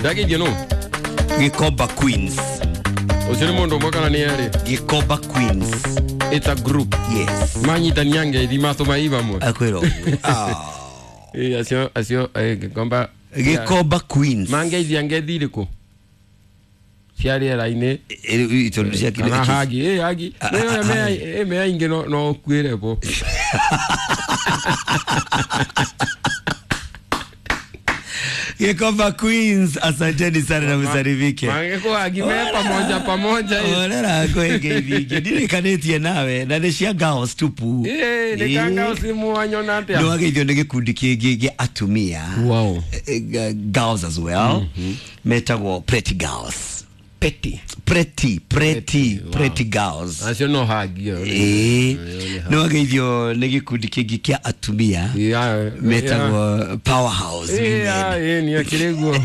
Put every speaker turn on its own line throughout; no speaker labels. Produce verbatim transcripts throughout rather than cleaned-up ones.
Ndageithio no
Gikomba Queens.
Ucio nĩ mũndũ ũmwe kana nĩ erĩ?
Gikomba Queens.
It's a group.
Yes.
Manyitania ngeithi matũma i vamwe.
Akwĩra ũguo. Ah.
Ĩ, acio acio eh, Gikomba.
Gikomba Queens.
Mangeithia ngeithi irĩkũ cia rĩera-inĩ?
Eh, tondũ cia
kana hagi ĩ hagi
Ah,
nĩ
ah,
mea
ah.
ĩ mea ingĩ no no ũkuĩre bo.
Gikomba Queens, asanteni sana na msalimike.
Mangĩkũhagi me pamoja pamoja ĩ.
Orera kwĩ ngeithi ingĩ ndirikanĩtie nawe na nĩ cia girls tupu.
Ĩ, nĩ kanga ũcimu wanyona atĩa?
Nĩ wageithio nĩ gĩkundi kĩngĩ gĩa atumia.
Wow.
Eh, eh, girls as well. Metagwo Pretty Girls.
Petty.
Pretty, pretty,
Pretty, wow.
pretty girls.
Acio no hagi ĩyo.
Ĩĩ.
Ĩyo nĩ
Nĩ wageithio nĩ gĩkundi kĩngĩ kĩa atumia
Yeah,
metagwo Powerhouse
yeah.
Women.
Ĩĩ, nĩ akĩrĩ guo.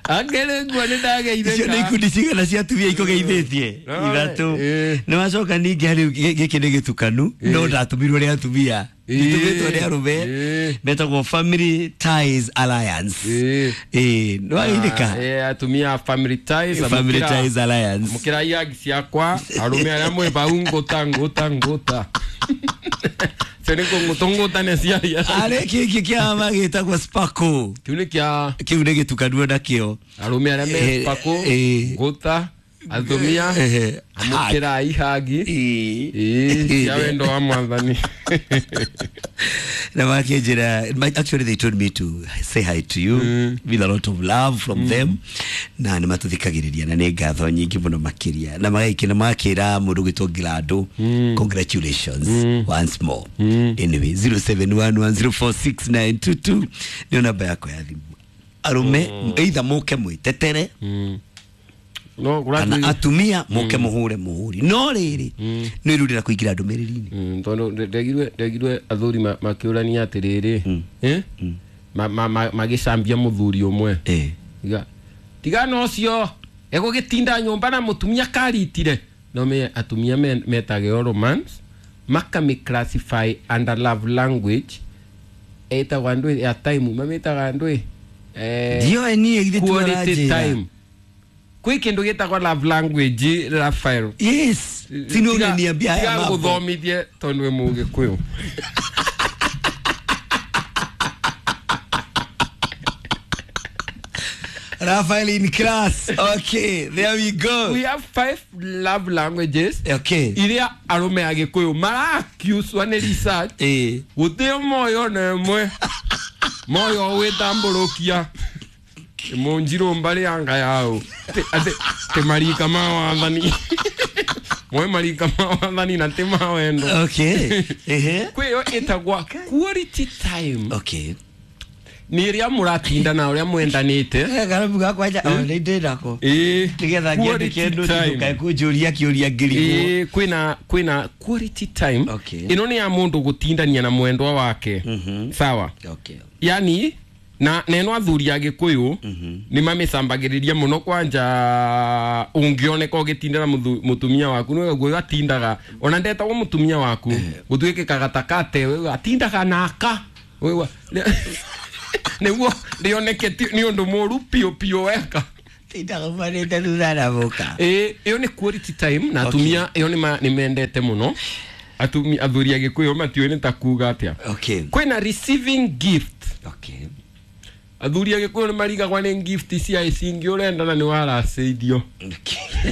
Akĩrĩ guo nĩ
Icio nĩ
ndageithĩka.
ikundi cigana cia atumia ikũgeithĩtie?
No,
Ithatũ.
ĩĩ.
Nĩ wacoka ningĩ harĩ gĩkĩ nĩ gĩtukanu no ndatũmirwo nĩ atumia.
Ĩĩ.
Gĩtũmĩtwo nĩ arũme.
Ĩĩ.
Metagwo Family Ties Alliance.
Ĩĩ.
Ĩĩ, nĩ wageithĩka?
Ĩĩ, atumia a Family Ties.
Family
amũkĩra-
Ties Alliance.
Mũkĩra ihagi ciakwa arũme arĩa mwĩ bau ngũta ngũta ngũta. Cio nĩ kũngũtũngũtane ciaria.
Arĩ kĩngĩ kĩama gĩtagwo Sparkle.
Kĩu nĩ kĩa
Kĩu nĩ gĩtukanu onakĩo.
arũme arĩa me
Eh,
Sparkle,
eh.
ngũta, atumia
Eh,
amũkĩra ihagi.
Ĩĩ.
Ĩĩ, cia wendo wa mwathani.
Na makĩnjĩra, actually they told me to say hi to you with a lot of love from them, na nĩ matũthikagĩrĩria na nĩ ngatho nyingĩ mũno makĩria, na magaikĩ na makĩra mũndũ gwĩtwo Gilando congratulations once more. Anyway, zero seven one one zero four six nine two two nĩyo namba yakwa ya thimũ. Arũme either mũke mwĩtetere
No
kana
kũratuĩ
atumia mũke mũhũre mũhũri, no rĩrĩ nĩ irurĩra kũingĩra ndũmĩrĩri-inĩ.
Mm, tondũ nde- ndegirwe ndegirwe athuri ma- makĩũrania atĩrĩrĩ, eh? Ma- ma- ma- magĩcambia mũthuri ũmwe.
Eh.
Tiga tigana ũcio egũgĩtinda nyũmba na mũtumia karitire. No me atumia me- metageo romance makamĩ classify under love language ĩtagwo andũ ya time mamĩtaga andũ eh,
Ndioĩ niĩ githĩ ti
quality
ũranjĩra.
time. Kwĩ kĩndũ gĩtagwo love language, Raphael.
Yes, si nĩ ũraniambia haya
Tiga
mambo.
ngũthomithie tondũ wĩ mũgĩkũyũ.
Raphael in class. Okay, there we go.
We have five love languages
Okay.
iria arũme a gĩkũyũ marakiuswa nĩ research.
Eh.
Gũtirĩ moyo na ĩmwe moyo wĩtambũrũkia mũnjirũ mbarĩ ya nga yao atĩ tĩ marika ma wathani moe marika ma wathani na tĩ ma wendo.
Okay. Ehe.
Kwĩ ĩyo ĩtagwa quality time.
Okay.
Nĩ ĩrĩa mũratinda na ũrĩa mwendanĩte.
Eh, karamu gakwa nja, oh, nĩ ndĩ nako.
Ĩĩ,
Nĩgetha
quality
ngĩandĩke note
time.
ndũkae kũnjũria kĩũria ngĩrigwo.
Ĩĩ, kwĩna kwĩna quality time.
Okay.
Ĩno nĩ ya mũndũ gũtindania na mwendwa wake. Sawa.
Okay.
Yani na na ĩno athuri a gĩkũyũ nĩ mamĩcambagĩrĩria mũno kwanja ũngĩoneka ũgĩtinda na mũthu- mũtumia waku nĩ guo atindaga ona ndetagwo mũtumia waku gũtuĩkĩkaga ta kate wewe atindaga naka wewe nĩguo rĩoneke ti- nĩ ũndũ mũru piũ piũ weka.
Tindaga umanĩte thutha na mũka.
Ĩĩ, ĩyo nĩ quality time na atumia ĩyo nĩ ma- nĩ mendete mũno. Atumia athuri a gĩkũyũ matiũĩ nĩ ta kuga atĩa.
Okay.
Kwĩna receiving gift.
Okay.
Athuri a gĩkũyũ nĩ marigagwa nĩ gift cia ici ingĩ ũrenda na nĩ waracĩithio.
Okay.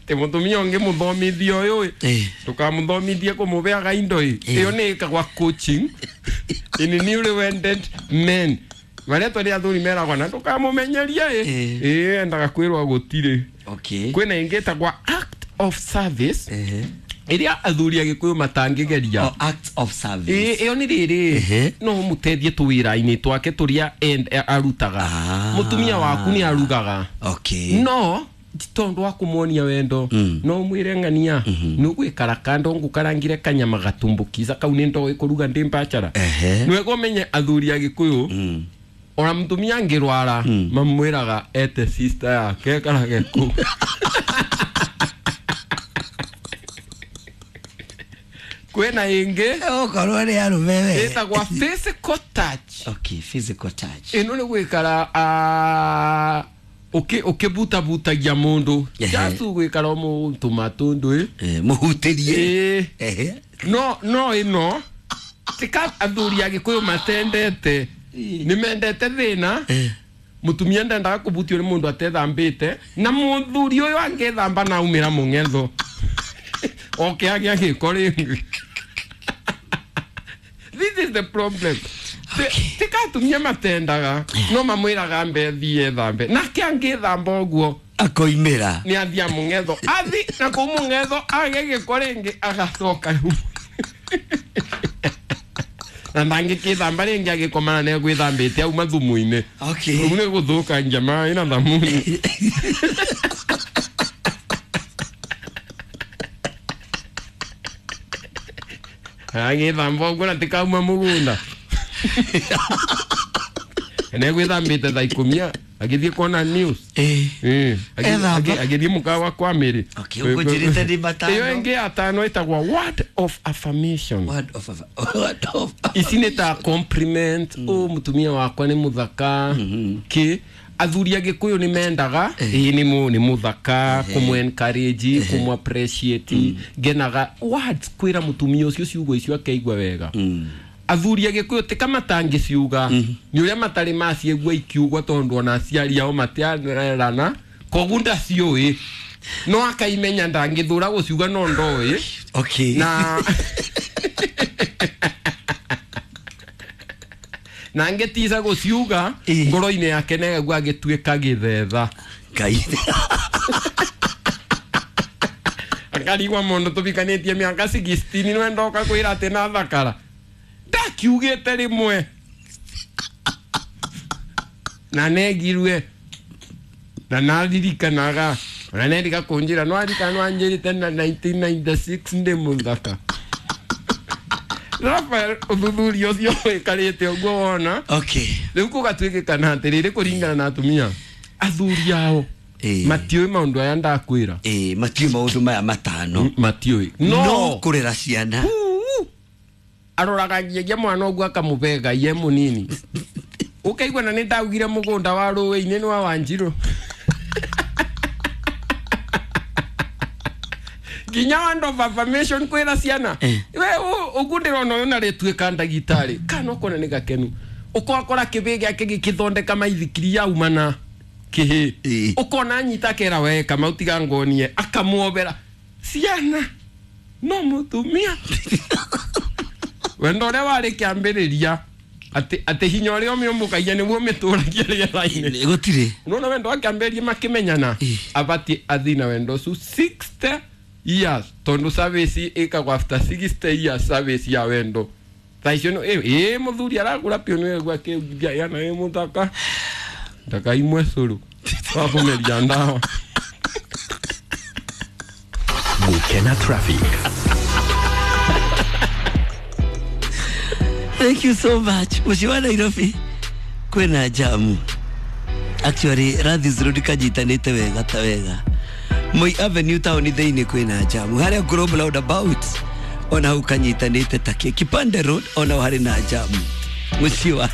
Tĩ mũtumia ũngĩ mũthomithia ũyũ ĩ
Eh.
ndũkamũthomithie kũmũbeaga indo ĩ.
Eh.
Ĩyo nĩ ĩkagwa coaching in newly wedded men marĩa twarĩ athuri meragwa na ndũkamũmenyerie ĩ.
Eh.
Ĩ endaga kwĩrwo gũtirĩ.
Okay.
Kwĩna ĩngĩ ĩtagwa act of service
Ehe.
ĩrĩa athuri a gĩkũyũ matangĩgeria.
Oh, act of service.
Ĩ, ĩyo nĩ rĩrĩ
Ehe.
no mũteithie tũwĩra-inĩ twake tũrĩa end- arutaga.
Ah.
Mũtumia waku nĩ arugaga.
Okay.
No ti tondũ wa kũmuonia wendo no mwĩre ng'ania nĩ ũgwĩkara kando ngũkarangire kanyama gatumbukiza kau nĩ ndoĩ kũruga ndĩ mbachara.
Ehe.
Nĩwega ũmenye athuri a gĩkũyũ
Mm.
ona mũtumia angĩrwara mamwĩraga ete sister yake ekarage kũu. Kwĩna ĩngĩ
Okorwo nĩ arũme we.
Ĩtagwa physical touch.
Okay, physical touch.
Ĩno nĩ gwĩkara ah, ũkĩ ũkĩbutabutagia mũndũ.
Ehe.
Just gwĩkara ũmũtũma tũndũ.
Eh, mũhutĩrie.
Ĩ.
Ehe.
No no ĩno tika athuri a Gĩkũyũ matendete, nĩ mendete thĩna.
Eh.
Mutumia ndendaga kũbutio nĩ mũndũ atethambĩte, na mũthuri ũyũ angĩthamba na aumĩra mũng'etho oke agĩa gĩko rĩngĩ. This is the problem.
Okay.
Tika atumia matendaga, no mamwĩraga mbe thiĩ ethambe, nake angĩthamba ũguo
Akoimĩra.
Nĩ athia mũng'etho, athi na kũu mũng'etho age gĩko rĩngĩ, agacoka rĩu na ndangĩkĩthamba rĩngĩ, agĩkomana nĩ egwĩthambĩte auma thumu-inĩ.
Okay.
Rĩu nĩ gũthũkangia maĩ na thamuni. Agĩthamba ũguo na tikauma mũgũnda nĩ egwĩthambĩte thaa ikũmi agĩthiĩ kuona news.
Eh.
Eh, agi-
Ethamba.
agi- agĩthiĩ mũkawa kwa mĩrĩ.
Okay, ũkũnjĩrĩte nĩ matano.
Ĩyo ĩngĩ ya tano ĩtagwo word of affirmation.
Word of word of
Ici nĩ ta compliment mm. Ũ mũtumia wakwa nĩ mũthaka kĩ. Athuri a Gĩkũyũ nĩ mendaga ĩ nĩ mũ nĩ mũthaka, kũmũ encourage, kũmũ appreciate, ngenaga words kwĩra mũtumia ũcio ciugo icio akeigua wega. Athuri a Gĩkũyũ ti kama matangĩciuga, nĩ ũrĩa matarĩ maciĩgua ikiugwo, tondũ ona aciari ao matiarerana, koguo ndaciũĩ, no akaimenya ndangĩthũra gũciuga, no ndoĩ.
Okay.
Na na angĩtica gũciuga,
Ĩ.
ngoro-inĩ yake negagua agĩtuĩka gĩthetha.
Ngai.
Akarigwa mũndũ tũbikanĩtie mĩaka sixteen nĩwe ndoka kwĩra atĩ na thakara ndakiugĩte rĩmwe na negirue na naririkanaga ona nerika kũnjĩra no arikana no anjĩrĩte na nineteen ninety-six ndĩ mũthaka. Rafael, ũthuthuria ũcio wĩkarĩte ũguo wona.
Okay.
Rĩu kũgatuĩkĩkana atĩrĩrĩ, kũringana na atumia, athuri ao
Ĩ.
matiũĩ maũndũ aya ndakwĩra.
Eh, matiũĩ maũndũ maya matano.
Matiũĩ.
No
no
kũrera ciana.
Uu. Aroraga ngiagia mwana ũguo akamũbega ye mũnini, ũkaigua na nĩ ndaugire mũgũnda wa rũĩ-inĩ nĩ wa Wanjirũ nginya word of affirmation kwĩra ciana.
Eh.
We ũguo ndĩrona ũyũ na rĩtuĩka ndagĩtarĩ kana ũkona nĩ gakenu, ũkokora kĩbĩ gĩake gĩkĩthondeka maithikiri yaumana kĩhĩ.
Ĩ.
Ũkona anyita kera we kamau tiga ngonie, akamuobera ciana, no mũtumia wendo ũrĩa warĩ kĩambĩrĩria atĩ atĩ hinya ũrĩa ũmĩũmbũkagia nĩguo ũmĩtũragia rĩera-inĩ.
Gũtirĩ.
Unaona wendo wakĩambĩrĩria makĩmenyana,
Ĩ.
abatiĩ athi na wendo ũcio sixty years, tondũ service ĩkagwo after sixty years, service ya wendo. Thaa icio nĩ- ĩ ĩ mũthuri aragũra piũ nĩ akĩugia yana ĩ mũthaka ndakaimwe cũrũ wa kũmeria ndawa.
Gukena Traffic.
Thank you so much. Mũciĩ wa Nairobi kwĩna jamu. Actually, Radhis Road kanyitanĩte wega ta wega. Moi Avenue town thĩinĩ kwĩna jamu. Harĩa Global Roundabout ona hau kanyitanĩte take. Kipande Road ona ho harĩ na jamu. Mũciĩ wa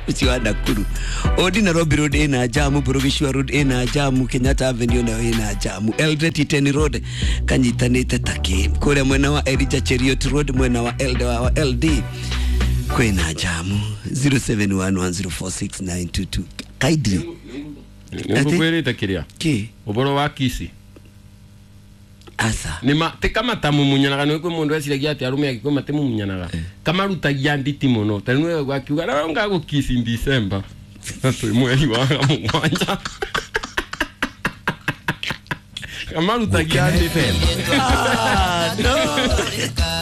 mũciĩ wa Nakuru. Odi Nairobi Road ĩna jamu, Burugishwa Road ĩna jamu, Kenyatta Avenue nayo ĩna jamu. Eldoret Iten Road kanyitanĩte take. Kũrĩa mwena wa Elijah Cheriot Road, mwena wa L D, wa L D kwĩna jamu. zero seven one one zero four six nine two two kindly.
Nĩngũkwĩrĩte kĩrĩa
Kĩ?
ũboro wa kisi.
Asa.
Nĩma ti kamatamumunyanaga nĩ kwĩ mũndũ eciragia atĩ arũme agĩkũyũ matimumunyanaga, kamarutagia nditi mũno, ta rĩu akiuga na ngagũkiss in December na twĩ mweri wa mũgwanja, kamarutagia
Gukena
nditi.
F M.
Ah, no.